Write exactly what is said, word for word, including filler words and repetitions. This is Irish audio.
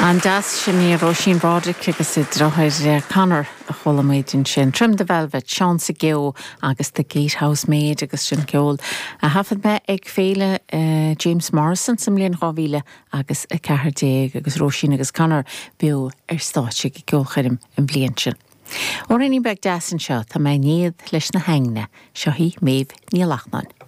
An deas sin í Róisín Broderick agus a deartháir Conor a chuala muid ansin. Trim the Velvet, Seán sa Geo agus The Gatehouse Maid agus sin ceol a thaifead mé ag féile uh, James Morrison sa mbliain dhá mhíle agus a ceathair déag agus Róisín agus Conor beo ar stáitse ag ceolchoirm an bhliain sin. Amhráinín beag deas anseo tá mé néad leis na haigne seo í Méabh Ní Lachtnáin.